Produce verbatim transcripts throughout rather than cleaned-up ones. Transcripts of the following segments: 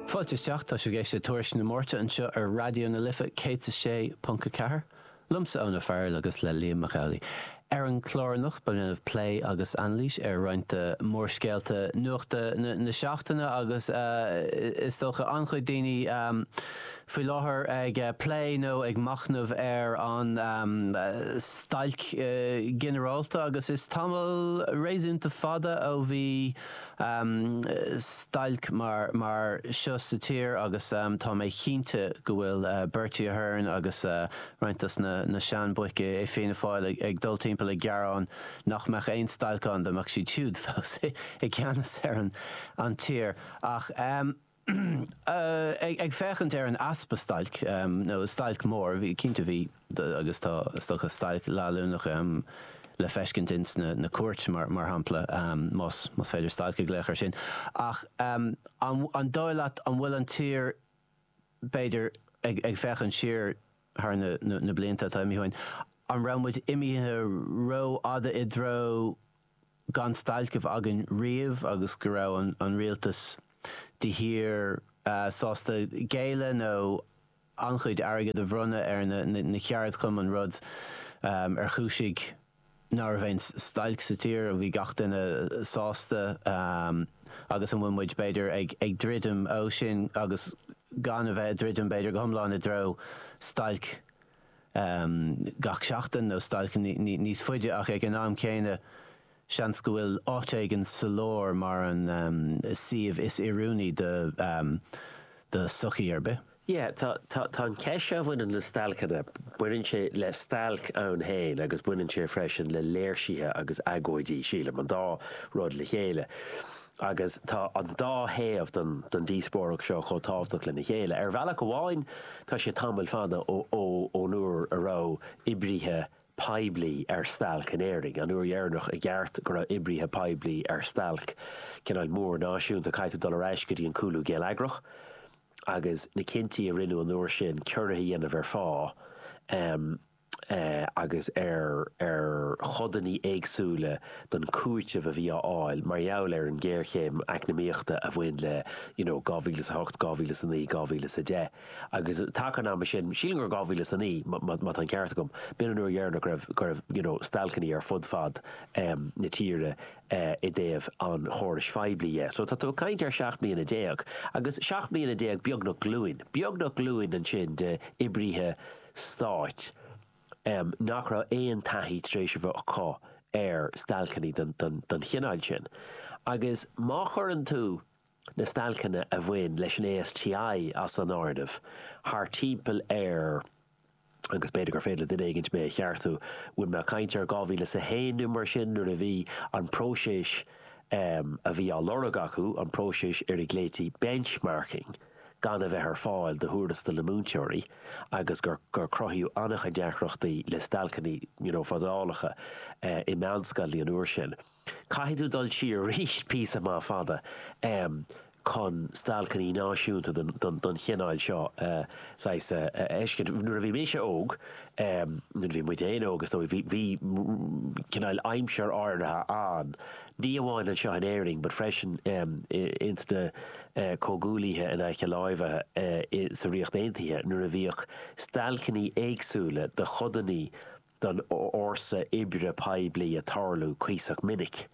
Fáilte isteach tá sibh ag éisteacht le Tuairisc na Máirte anseo ar Raidió na Life céad a sé ponc a ceathair. Liomsa Eoin Ó Fearghail agus le Liam Mac Amhlaigh. Ar an chlár anocht beidh déanamh plé agus anailís ar roinnt de mhórscéalta nuachta na, na seachtaine agus uh, is dócha an-chuid daoine um, faoi láthair ag uh, plé nó ag machnamh ar an um, stailc uh, ginearálta agus is tamall réasúnta fada ó bhí um, stailc mar, mar seo sa tír agus um, tá mé cinnte go bhfuil uh, Bertie Ahern agus uh, roinnt dos na, na seanbhoic i Fianna Fáil ag, ag dul timpeall ag gearán nach mbeadh aon stailc ann dá mbeadh siad siúd fós i gceannas ar an, an tír ach um, uh, ag, ag féachaint ar an easpa stailc um, nó stailc mór bhí cinnte bhí agus tá stocha stailc leanúnach um, le feiscint ins na, na cúirt mar, mar shampla um, más, más féidir stailc a ghlaoch air sin. Ach um, an, an dóigh leat an bhfuil an tír b'fhéidir ag, ag féachaint siar thar na, na, na blianta atá imithe, an raibh muid imithe rófhada i dtreo gan stailc a bheith againn riamh agus go raibh an, an rialtas de shíor uh, sásta géilleadh nó an-chuid airgead a bhronnadh ar na, na, na ceardchumainn rud um, ar chúisigh ná raibh aon stailc sa tír a bhí gach duine sásta um, agus an bhfuil muid b'fhéidir ag, ag druidim ó sin agus gan a bheith ag druidim b'fhéidir go hiomlán i dtreo stailc um, gach seachtain nó stailc níos faide ach ag an am céanna seans go bhfuil áit éigin sa lár mar an um, suíomh is oiriúnaí do, um, do sochaí ar bith. Yeah, tá tá tá an ceist a bhaineann le stailceanna, baineann sé le stailc ann féin agus baineann sé freisin le léirsithe agus agóidí sílim an dá rud le chéile. Agus tá an dá thaobh den, den díospóireacht seo chomh tábhachtach lena chéile. Ar bhealach amháin tá sé tamall fada ó ó ón uair a raibh oibrithe poiblí ar stailc in Éirinn, an uair dheireanach i gceart go raibh oibrithe poiblí ar stailc cineál mór náisiúnta caithfidh dul ar ais go dtí an cúlú geilleagrach. agus na cinntí a rinneadh an uair sin ciorruithe a dhéanamh ar phá um, uh, agus ar ar chodanna éagsúla don cúiteamh a bhí á fháil mar gheall ar an géarchéim eacnamaíochta a bhain le you know, dhá mhíle a hocht, dhá mhíle a naoi, dhá mhíle a deich. Agus tá an am sin sílim gur dhá mhíle a naoi má tá an ceart agam, b'in an uair dheireanach go raibh go raibh you know, stailceanna ar fud fad um, na tíre uh, i dtaobh an chórais phoiblí dhe. So tá tú caint ar seacht mbliana déag, agus seacht mbliana déag beagnach glúin, beagnach glúin ansin de oibrithe stáit um, nach raibh aon taithí tar éis a bheith acu ar stailceanna den, den, den chineál sin. Agus má chuireann tú na stailceanna a bhain leis an ASTI as an áireamh, thar timpeall ar agus b'fhéidir gur féidir le duine éigin mé a cheartú, bhfuil mé caint ar dhá mhíle a haon nó mar sin nuair a bhí an próiseas um, a bhí á lorg acu an próiseas ar a nglaoití benchmarking gan a bheith ar fáil do thuarastal na múinteoirí agus gur gur cruthaíodh an-chuid deacrachtaí le stailceanna you know, fadálacha uh, i meánscoileanna an uair sin. Caithfidh tú dul siar arís píosa maith fada um, chun stailceanna náisiúnta don, don, don chineál seo uh, saghas uh, fheiscint. Nuair a bhí mise óg um, nuair a bhí muid féin óg is dóigh bhí bhí cineál aimsir áirithe ann. Ní amháin anseo in Éirinn, but freisin um, ins na uh, comhghuaillithe in aice láimhe uh, sa Ríocht Aontaithe nuair a bhíodh stailceanna éagsúla de chodanna den fhórsa oibre poiblí ag tarlú cuíosach minic.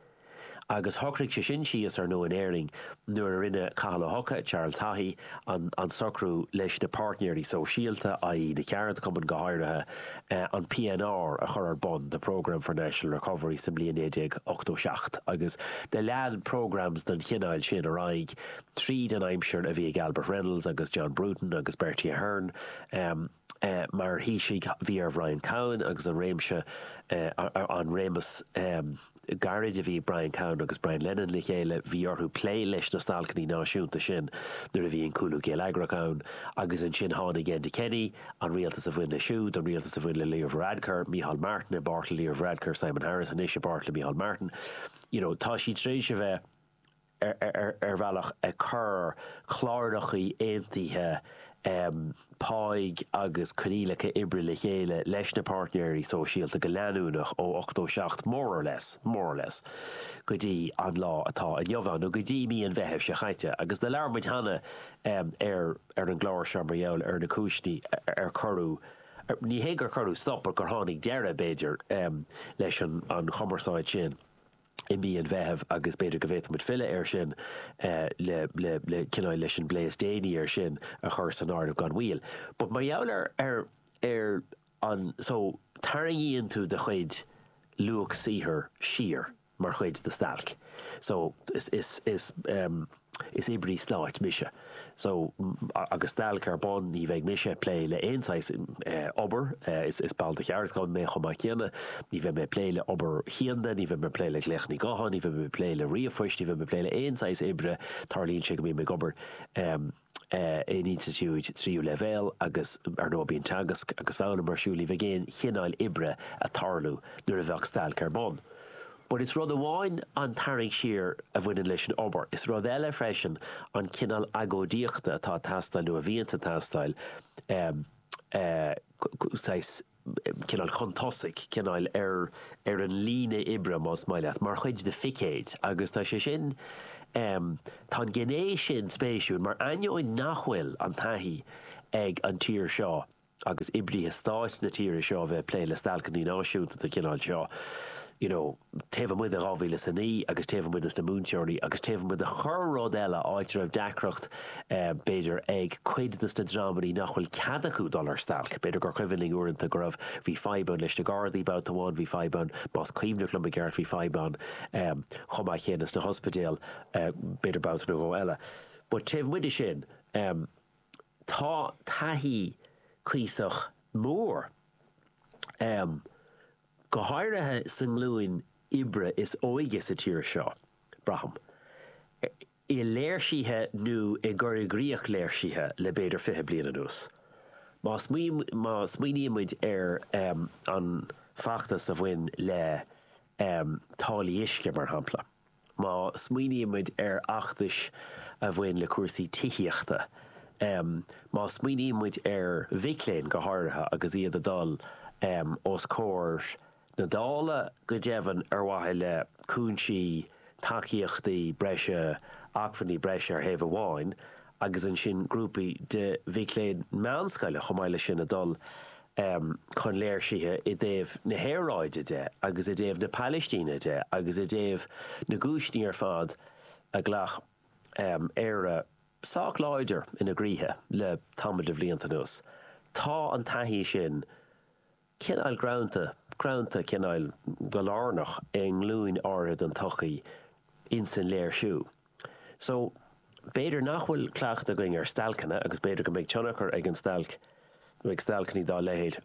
Agus shocraigh sé sin síos ar ndóigh in Éirinn nuair a rinne Cathal Ó hEochaidh Charles Haughey an, an socrú leis na páirtnéirí sóisialta a na ceardchumainn go háirithe eh, an PNR a chur ar bun the Programme for National Recovery sa mbliain naoi déag ochtó seacht agus do lean programs den chineál sin ar aghaidh tríd an aimsir a bhí ag Albert Reynolds agus John Bruton agus Bertie Ahern. Um, Uh, mar Thaoiseach bhí ar Brian Cowen agus an réimse uh, an réimeas um, gairid a bhí Brian Cowen agus Brian Lennon le chéile bhí orthu plé leis na stailceanna náisiúnta sin nuair a bhí an cúlú geilleagrach ann agus ansin tháinig Enda Kenny an rialtas a bhain le siúd an rialtas a bhain le Leo Varadkar, Micheál Martin i bpáirt le Leo Varadkar, Simon Harris anois i bpáirt le Micheál Martin. You know, tá siad tar éis a bheith ar, ar, ar bhealach ag cur cláracha aontaithe páigh agus coinníollacha oibre le chéile leis na páirtnéirí sóisialta go leanúnach ó ochtó seacht more or less, more or less, go dtí an lá atá inniu ann, nó go dtí mí an Mheithimh seo chaite. Agus do labhair muid cheana ar ar an gclár seo mar gheall ar na cúiseanna ar cuireadh, ní hé gur cuireadh stop, ach gur tháinig deireadh, b'fhéidir, leis an an chumarsáid sin i mí an Mheithimh agus b'fhéidir go bhféadfadh muid filleadh air sin le le le cineál leis an bplé is déanaí air sin a chur san áireamh gan mhoill. But mar gheall ar ar ar an so tarraingíonn tú do chuid luach saothair siar mar chuid de stailc. So is is is um, is oibrí stáit mise. So agus stailc ar bun ní bheidh mise ag plé le aon saghas obair, is is ball de cheardchumann mé chomh maith céanna, ní bheidh mé ag plé le obair chianda, ní bheidh mé ag plé le glaochanna gutháin, ní bheidh mé ag plé le ríomhphoist, ní bheidh mé ag plé le aon saghas oibre, tarlaíonn sé go mbím ag obair in institiúid tríú leibhéal agus ar ndóigh bíonn teagasc agus foghlaim ar siúl, ní bheidh aon chineál oibre ag tarlú nuair a bheadh stailc ar bun. But is rud amháin an tarraingt siar a bhaineann leis an obair, is rud eile freisin an cineál agóidíochta atá ag teastáil nó a bhíonns ag teastáil, saghas cineál chun tosaigh, cineál ar ar an líne oibre más maith leat, mar chuid de phicéid agus tá sé sin, tá an ghné sin spéisiúil mar ainneoin nach bhfuil an taithí ag an tír seo agus oibrithe stáit na tíre seo a bheith ag plé le stailceanna náisiúnta den chineál seo, you know, taobh amuigh de dhá mhíle is a naoi agus taobh amuigh de na múinteoirí agus taobh amuigh de chorr-rud eile, áit a raibh deacracht, b'fhéidir, ag cuid de na dreamanna nach bhfuil cead acu dul ar stailc. B'fhéidir gur cuimhin linn uaireanta go raibh, bhí fadhb ann leis na Gardaí babhta amháin, bhí fadhb ann, más cuimhneach liom i gceart, bhí fadhb ann chomh maith céanna sna hospidéil, b'fhéidir babhta nó dhó eile. But taobh amuigh de sin, tá taithí cuíosach mór, go háirithe sa nglúin oibre is óige sa tír seo, braithim, i léirsithe nó i gcur i gcrích léirsithe le b'fhéidir fiche bliain anuas. Má smaoiníonn muid ar an bhfeachtas a bhain le táillí uisce, mar shampla, Má smaoiníonn muid ar fheachtais a bhain le cúrsaí tithíochta, má smaoiníonn muid ar mhic léinn go háirithe agus iad ag dul os comhair na Dála go deimhin ar mhaithe le cúinsí, tacaíochtaí breise, acmhainní breise ar thaobh amháin agus ansin grúpaí de mhic léinn meánscoile chomh maith leis sin ag dul chun léirsithe i dtaobh na haeráide de agus i dtaobh na Palaistíne de agus i dtaobh na gcúiseanna ar fad a ghlac Éire sách láidir ina gcroíthe le tamall de bhlianta anuas. Tá an taithí sin cineál greanta, greanta cineál go lárnach i nglúin áirithe den tsochaí ins an léirsiú. So, b'fhéidir nach bhfuil cleachtadh againn ar stailceanna agus b'fhéidir go mbeidh tionchar ag an stailc nó ag stailceanna dá leithéid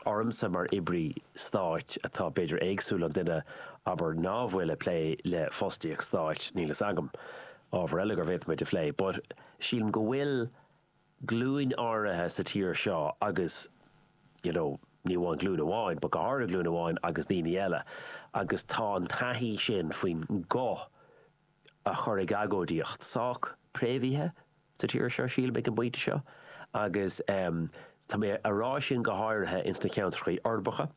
ormsa mar oibrí stáit atá b'fhéidir éagsúil ón duine abair ná bhfuil ag plé le fostaíocht stáit, níl fhios agam, ábhar eile go bhféadfaimid a phlé but sílim go bhfuil glúin áirithe sa tír seo agus you know ní amháin glúin amháin but go háirithe glúin amháin agus daoine eile agus tá an taithí sin faoin nguth a chur ag agóidíocht sách préamhaithe sa tír seo, sílim, ag an bpointe seo agus tá mé a rá sin go háirithe ins na ceantracha uirbeacha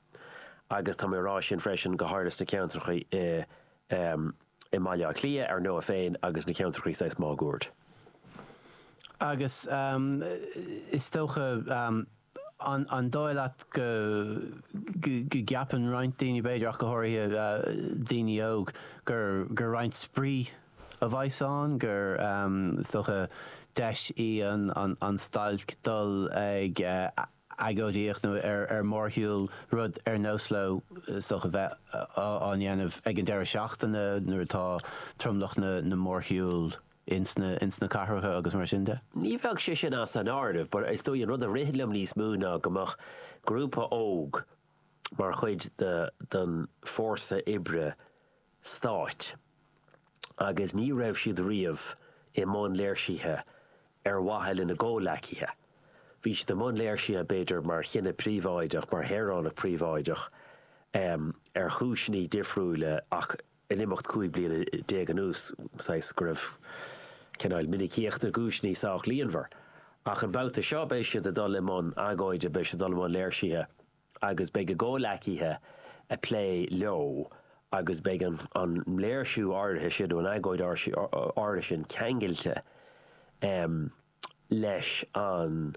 agus tá mé a rá sin freisin go háirithe sna ceantracha i i mBaile Átha Cliath, ar ndóigh féin, agus na ceantracha saghas máguaird. Agus is dócha, an dóigh leat go gceapann roinnt daoine, b'fhéidir, ach go háirithe daoine óg, gur roinnt spraoi a bheas ann, gur, is dócha, deis í an stailc dul ag agóidíocht nó ar mórshiúl, rud ar nós leo, is dócha, bheith á ndéanamh ag an deireadh seachtaine nuair atá tromlach na mórshiúl ins na ins na cathracha agus mar sin de? Ní bheadh sé sin as an áireamh, but is dóigh an rud a ritheann liom níos mó ná go mbeadh grúpa óg mar chuid de den fórsa oibre stáit agus ní raibh siad riamh i mbun léirsithe ar mhaithe lena gcomhleacaithe. Bhí siad i mbun léirsithe b'fhéidir mar chine príobháideach, mar shaoránach príobháideach ar chúiseanna difriúla ach in imeacht cúig bliana déag anuas, saghas, go raibh cineál minicíocht na gcúiseanna sách líonmhar. Ach an babhta seo beidh siad ag dul i mbun agóide, beidh siad ag dul i mbun léirsithe agus beidh a gcomhleacaithe ag plé leo agus beidh an an léirsiú áirithe sin nó an agóid áirithe sin ceangailte leis an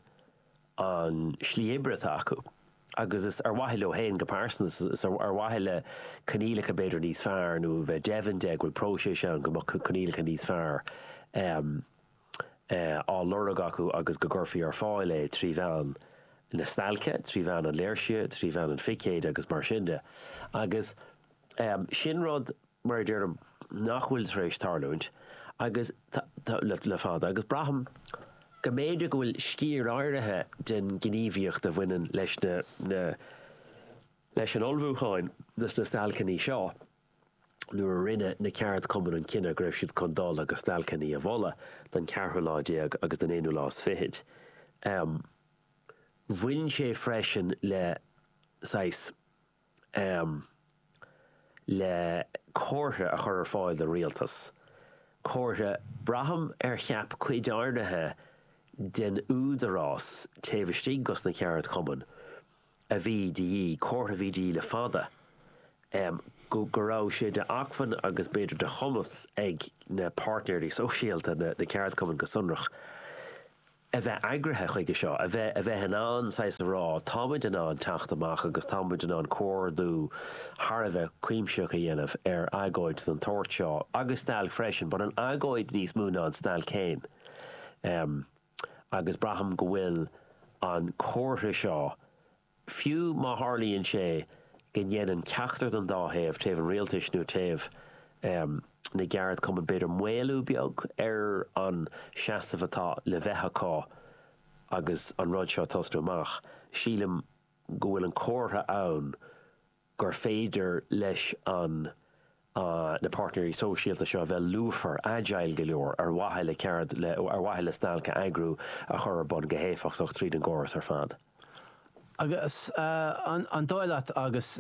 an slí oibre atá acu agus is ar mhaithe leo féin go pearsanta, is ar mhaithe le coinníollacha b'fhéidir níos fearr nó bheith deimhin de go bhfuil próiseas ann go mbeadh coinníollacha níos fearr á lorg acu agus go gcuirfí ar fáil é trí mheán na stailce, trí mheán an léirsithe, trí mheán an phicéid agus mar sin de. Agus sin rud, mar a deirim, nach bhfuil tar éis tarlúint agus le fada agus braithim go mb'fhéidir go bhfuil sciar áirithe den ghníomhaíocht a bhaineann leis na leis an ullmhúcháin dos na stailceanna seo nuair a rinne na ceardchumainn an cinneadh go raibh siad chun dul agus stailceanna a mholadh don cheathrú lá déag agus don aonú lá is fichead. Bhain sé freisin le saghas. le comhartha a chur ar fáil don rialtas, comhartha, braithim, ar cheap cuid áirithe den údarás taobh istigh dos na ceardchumainn a bhí de dhíth, comhartha a bhí de dhíth le fada, go go raibh sé de acmhainn agus b'fhéidir de chumas ag na páirtnéirí sóisialta, na ceardchumainn go sonrach. a bheith eagraithe chuige seo, a bheith, a bheith in ann saghas a rá, táimid in ann teacht amach agus táimid in ann comhordú thar a bheith cuimsitheach a dhéanamh ar agóid den tsórt seo, agus stailc freisin, but an agóid níos mó ná an stailc féin. Agus braithim go bhfuil an comhartha seo, Fiú má tharlaíonn sé go ndéanann ceachtar den dá thaobh, taobh an rialtais nó taobh na gceardchumann, b'fhéidir maolú beag ar an seasamh atá le bheith acu agus an rud seo ag tosnú amach, sílim go bhfuil an comhartha ann gur féidir leis an na páirtnéirí sóisialta seo a bheith lúfar, agile go leor ar mhaithe le ceard, le, ar mhaithe le stailc a eagrú, a chur ar bun go héifeachtach tríd an gcóras ar fad. Agus an dóigh leat agus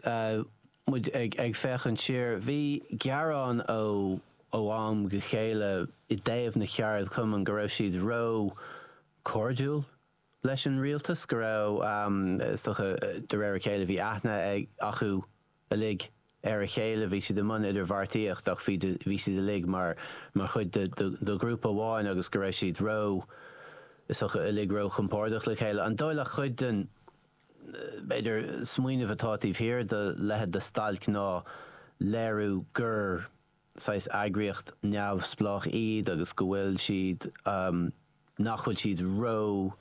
muid ag ag féachaint siar, bhí gearáin ó ó am go chéile i dtaobh na cheardchumann go raibh siad ró cairdiúil leis an rialtas, go raibh, is dócha, de réir a chéile bhí aithne ag acu uilig ar a chéile, bhí siad i mbun idirbheartaíocht ach bhí bhí siad uilig mar mar chuid de de ghrúpa amháin agus go raibh siad ró, is dócha, uilig ró-chompordach le chéile. An dóigh leat cuid den, b'fhéidir, smaoineamh atá taobh thiar de leithéid de stailc ná léiriú gur saghas eagraíocht neamhspleách iad agus go bhfuil siad, nach bhfuil siad ró,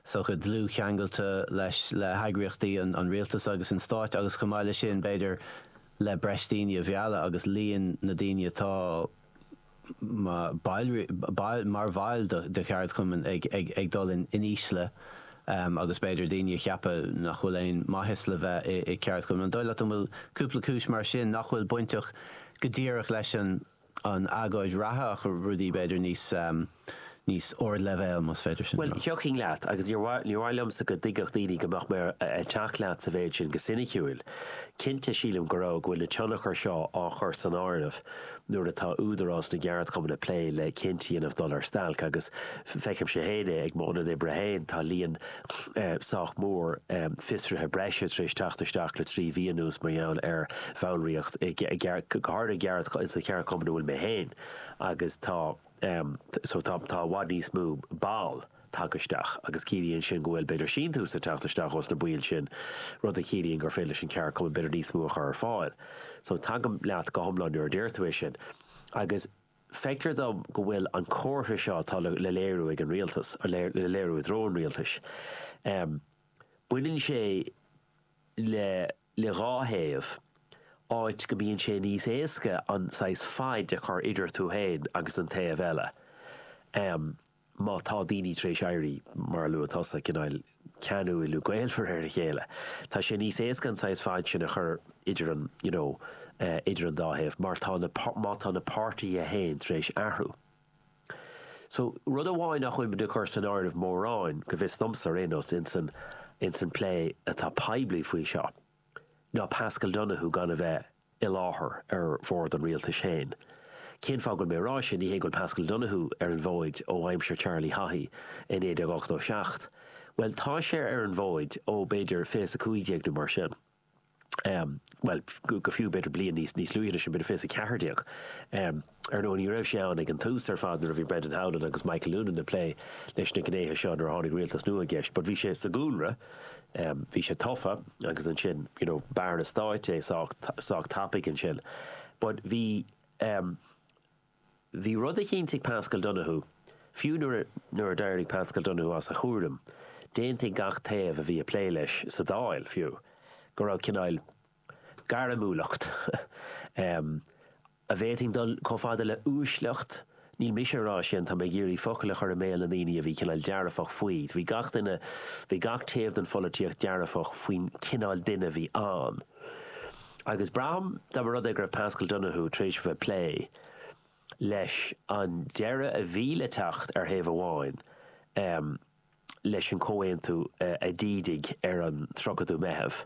is dócha, dlúthcheangailte leis, le heagraíochtaí an rialtais agus an stáit agus chomh maith leis sin, b'fhéidir, le breis daoine a mhealladh agus líon na daoine atá mar bhaill de cheardchumainn ag dul in ísle agus b'fhéidir daoine a cheapadh nach bhfuil aon mhaitheas le bheith i gceardchumann. An dóigh leat an bhfuil cúpla cúis mar sin nach bhfuil bainteach go díreach leis an an agóid reatha ach rudaí b'fhéidir níos níos ardleibhéil, más féidir sin a Bhuel, rá. thiocfainn leat, agus níor mhaith, níor mhaith liomsa go dtuigfeadh daoine go mbeadh mé ag teacht leat sa mhéid sin go soiniciúil. Cinnte, sílim go raibh, go bhfuil na tionchair seo á chur san áireamh nuair atá údarás na gceardchumann ag plé le cinntí a dhéanamh dul ar stailc agus feicimse féin é ag m'ionad oibre féin, tá líon sách mór fiosruithe breise tar éis teacht isteach le trí mhí anuas mar gheall ar bhallraíocht i, go háirithe i sa cheardchumann a bhfuil mé féin agus tá so tá tá i bhfad níos mó ball tagtha isteach agus ciallaíonn sin go bhfuil b'fhéidir síntiús ag teacht isteach ós na baill sin, rud a chiallaíonn gur féidir leis an cheardchumann b'fhéidir níos mó a chur ar fáil. So tagaim leat go hiomlán nuair a deir tú é sin. Agus feictear dom go bhfuil an comhartha seo atá le léiriú ag an rialtas, le léiriú i dtreo an rialtais, baineann sé le le dhá thaobh, áit go mbíonn sé níos éasca an saghas faid a chur idir tú féin agus an taobh eile má tá daoine tar éis éirí, mar a luaigh tusa, cineál ceanúil nó gaolmhar ar a chéile. Tá sé níos éasca an saghas faid sin a chur idir an, you know, idir an dá thaobh mar tá na, má tá na páirtithe féin tar éis athrú. So, rud amháin nach bhfuil muid ag cur san áireamh mórán, go bhfios domsa ar aon nós, ins an, ins an plé atá poiblí faoi seo, ná Paschal Donohoe gan a bheith i láthair ar bhord an rialtais féin. Cén fáth go bhfuil mé ag rá sin? Ní hé go bhfuil Paschal Donohoe ar an bhfód ó aimsir Charlie Haughey i naoi déag ochtó seacht. Bhuel, tá sé ar an bhfód ó b'fhéidir fiche is a cúig déag nó mar sin. Bhuel, go fiú b'fhéidir bliain níos níos luaithe sin, b'fhéidir fiche is a ceathair déag. Ar ndóigh, ní raibh sé ann ag an tús ar fad nuair a bhí Brendan Howlin agus Michael Noonan ag plé leis na gnéithe seo nuair a tháinig rialtas nua i gceist, but bhí sé sa gcúlra, bhí sé tofa agus ansin, you know, b'aire stáit é sách sách tapaidh ansin. But bhí, bhí rud eicínt ag Paschal Donohoe, fiú nuair a nuair a d'éirigh Paschal Donohoe as a chúram, d'aontaigh gach taobh a bhí ag plé leis sa Dáil, fiú, go raibh cineál gairmiúlacht, a bhféadfainn dul chomh fada le uaisleacht, níl mise ag rá sin, tá mé ag iarraidh focail a chur i mbéal na ndaoine a bhí cineál dearfach faoi, bhí gach duine, bhí gach taobh den pholaitíocht dearfach faoin cineál duine a bhí ann. Agus braithim, dá mba rud é go raibh Paschal Donohoe tar éis a bheith ag plé leis an deireadh a bhí le teacht ar thaobh amháin, leis an chomhaontú a d'ídigh ar an tríochadú Meitheamh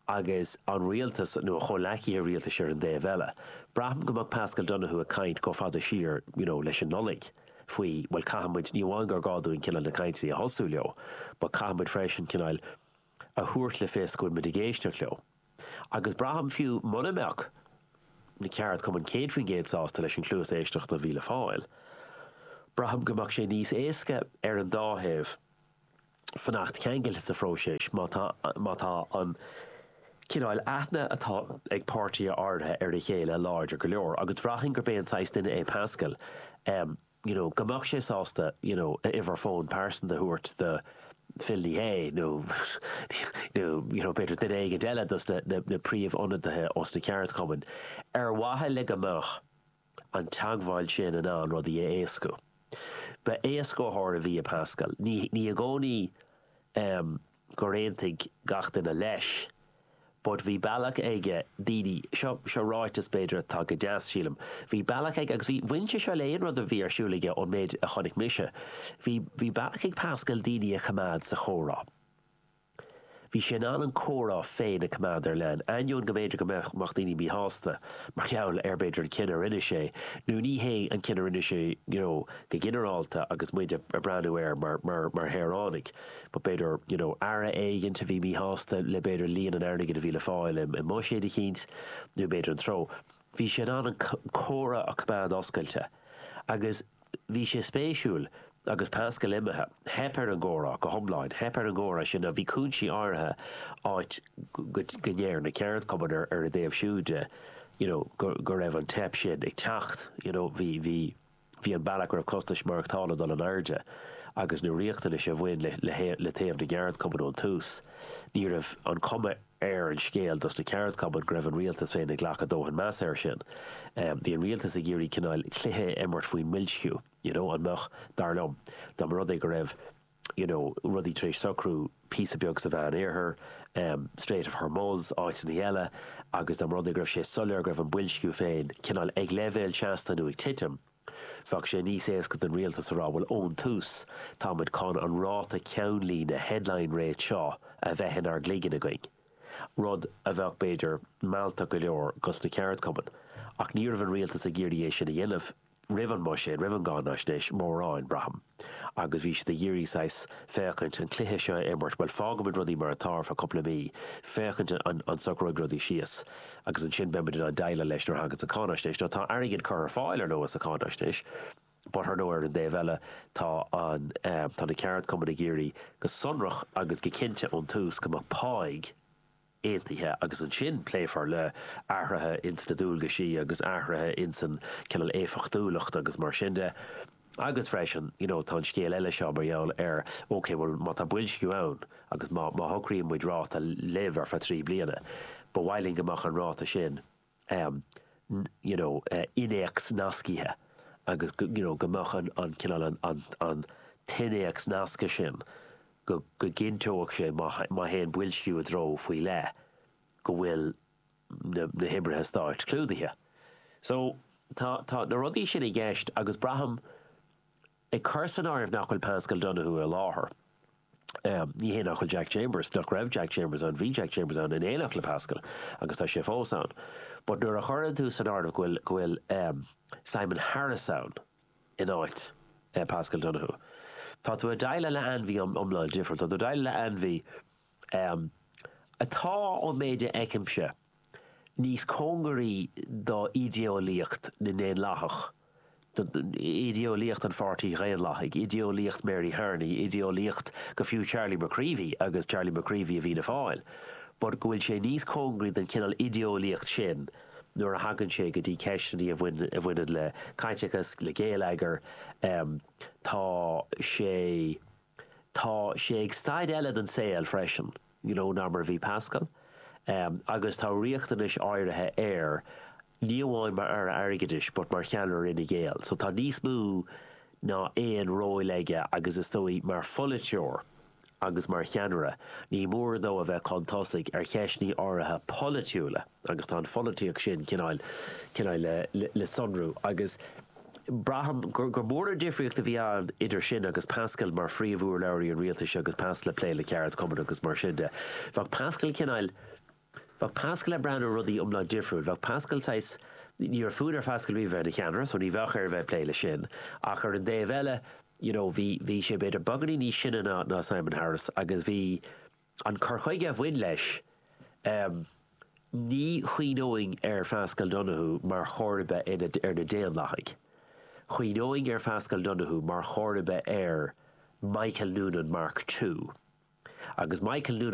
agus an rialtas nó a chomhleacaithe rialtais ar an dtaobh eile. Braithim go mbeadh Paschal Donohoe ag caint chomh fada siar you know leis an Nollaig faoi bhuel caithfidh muid, ní amháin gur gá dúinn cineál na cainteanna a thosú leo but caithfidh muid freisin cineál a thabhairt le fios go bhfuil muid ag éisteacht leo. Agus braithim fiú muna mbeadh na ceardchumainn céad faoin gcéad sásta leis an chluas éisteachta a bhí le fáil, braithim go mbeadh sé níos éasca ar an dá thaobh fanacht ceangailte sa phróiseas má tá má tá an cineál aithne atá ag páirtithe áirithe ar a chéile láidir go leor. Agus bhraithfinn gurb é an saghas duine é Paschal, you know, go mbeadh sé sásta, you know, a uimhir fóin pearsanta a thabhairt do Phil Ní Sheaghdha nó nó you know, b'fhéidir duine éigin eile dos na na príomhionadaithe ós na ceardchumainn ar mhaithe le go mbeadh an teagmháil sin in ann rudaí a éascú. Ba éascaitheoir a bhí i Paschal. Ní ní i gcónaí em gur aontaigh gach duine leis but bhí bealach aige daoine, seo seo ráiteas b'fhéidir atá go deas sílim, bhí bealach aige agus bhí, bhain sé seo le aon rud a bhí ar siúl aige ón méid a chonaic mise, bhí bhí bealach ag Paschal daoine a choimeád sa chomhrá. Bhí sé in ann an comhrá féin a choimeád ar lean, ainneoin go mb'fhéidir go mbeadh daoine míshásta mar gheall ar b'fhéidir an cinneadh a rinne sé, nó ní hé an cinneadh a rinne sé you know go ginearálta agus muid ag breathnú air mar mar mar shaoránaigh, but b'fhéidir you know aire éigint a bhí míshásta le b'fhéidir líon an airgid a bhí le fáil i mbuiséad eicínt nó b'fhéidir an treo. Bhí sé in ann an comhrá a choimeád oscailte agus bhí sé spéisiúil agus Paschal imithe, theip ar an gcomhrá go hiomlán, theip ar an gcomhrá sin. Now bhí cúinsí áirithe áit go ndeir na ceardchumainn ar ar a dtaobh siúd de, you know, go go raibh an teip sin ag teacht, you know, bhí bhí bhí an bealach go raibh costais maireachtála ag dul in airde agus na riachtanais a bhain le le le taobh na gceardchumann ón tús, ní raibh an chuma ar an scéal dos na ceardchumainn go raibh an rialtas féin ag glacadh dóthain measa air sin. Bhí an rialtas ag iarraidh cineál cluiche a imirt faoin mboilsciú, you know, an mbeadh, dar liom, dá mba rud é go raibh, you know, rudaí tar éis socrú píosa beag sa Mheán-Oirthear, Strait of Hormuz, áiteanna eile, agus dá mba rud é go raibh sé soiléir go raibh an boilsciú féin cineál ag leibhéal seasta nó ag titim, bheadh sé níos éasca don rialtas a rá, bhuel, ón tús, táimid chun an ráta ceannlíne, headline rate, seo a bheith inár gcloigeann againn. Rud a bheadh, b'fhéidir, mealltach go leor dos na ceardchumainn. Ach ní raibh an rialtas ag iarraidh é sin a dhéanamh roimh an mbuiséad, roimh an gcáinaisnéis, mórán, braithim. Agus bhí siad ag iarraidh saghas féachaint, an cluiche seo a imirt, bhuel, fágfaimid rudaí mar atá ar feadh cúpla mí, féachaint an an socróidh rudaí síos, agus ansin beimid in ann déileáil leis nuair a thaganns an cháinaisnéis. Now tá airgead curtha ar fáil, ar ndóigh, sa cháinaisnéis, but ar ndóigh ar an dtaobh eile tá an, tá na ceardchumainn ag iarraidh go sonrach agus go cinnte ón tús go mbeadh páigh, aontaithe agus ansin pléifear le athruithe ins na dualgaisí agus athruithe ins an cineál éifeachtúlacht agus mar sin de. Agus freisin, you know, tá an scéal eile seo mar gheall ar, ok, bhuel má tá boilsciú ann agus má, má shocraíonn muid ráta libh ar feadh trí bliana, ba mhaith linn go mbeadh an ráta sin, em, you know, innéacs nascaithe agus go, you know, go mbeadh an, an cineál an, an, an t-innéacs nasctha sin go gcinnteodh sé, má théann boilsciú i dtreo faoi leith, go bhfuil na hoibrithe stáit clúdaithe. So, tá, tá na rudaí sin i gceist agus braithim, ag cur san áireamh nach bhfuil Paschal Donohoe i láthair, Um, ní hé nach bhfuil Jack Chambers nach raibh Jack Chambers ann bhí Jack Chambers ann in éineacht le Pascal agus tá sé fós ann. But nuair a chuireann tú san áireamh go bhfuil go bhfuil um, Simon Harris ann in áit uh, Pascal Donoghue. Tá tú ag déileáil le ainmhí iomlán difriúil, Tá tú ag déileáil le ainmhí um, atá ón méid a fheicimse níos cóngaraí do idéolaíocht na nDaonlathach. Idéolaíocht an Pháirtí Dhaonlathaigh, idéolaíocht Mary Harney, idéolaíocht go fiú Charlie McCreevy agus Charlie McCreevy a Fhianna Fáil. But go bhfuil sé níos cóngaraí den cineál idéolaíocht sin nuair a thagann sé go dtí ceisteanna a bhaineann le caiteachas le géilleagar um, tá sé tá sé ag staid eile den saol freisin, you know, ná mar bhí Pascal. Um, agus tá riachtanais áirithe air ní amháin mar aire airgeadais, but mar cheannaire Fhine Gael. So tá níos mó ná aon ról aige agus is dóigh mar pholaiteoir agus mar cheannaire, ní mór dó a bheith chun tosaigh ar cheisteanna áirithe polaitiúla agus tá an pholaitíocht sin cineál cineál le, le, le sonrú agus braithim gur gur mór an difríocht a bhí ann idir sin agus Pascal mar phríomhurlabhraí an rialtais agus Pascal ag plé le ceardchumainn agus mar sin de. Bheadh Pascal cineál Bheadh Pascal ag breathnú ar rudaí iomlán difriúil, bheadh Pascal tais ní raibh fonn ar Pascal bheith ina cheannaire, so ní bheadh air bheith plé le sin. Ach ar an dtaobh eile, you know, bhí bhí sé b'fhéidir beagáinín níos sine ná, ná Simon Harris agus bhí an cur chuige a bhain leis um, ní chuimhneoinn ar Pascal Donoghue mar chomharba ar na Daonlathaigh. Chuimhneoinn ar Pascal Donoghue mar chomharba ar Michael Noonan Mark II. Agus Michael Noonan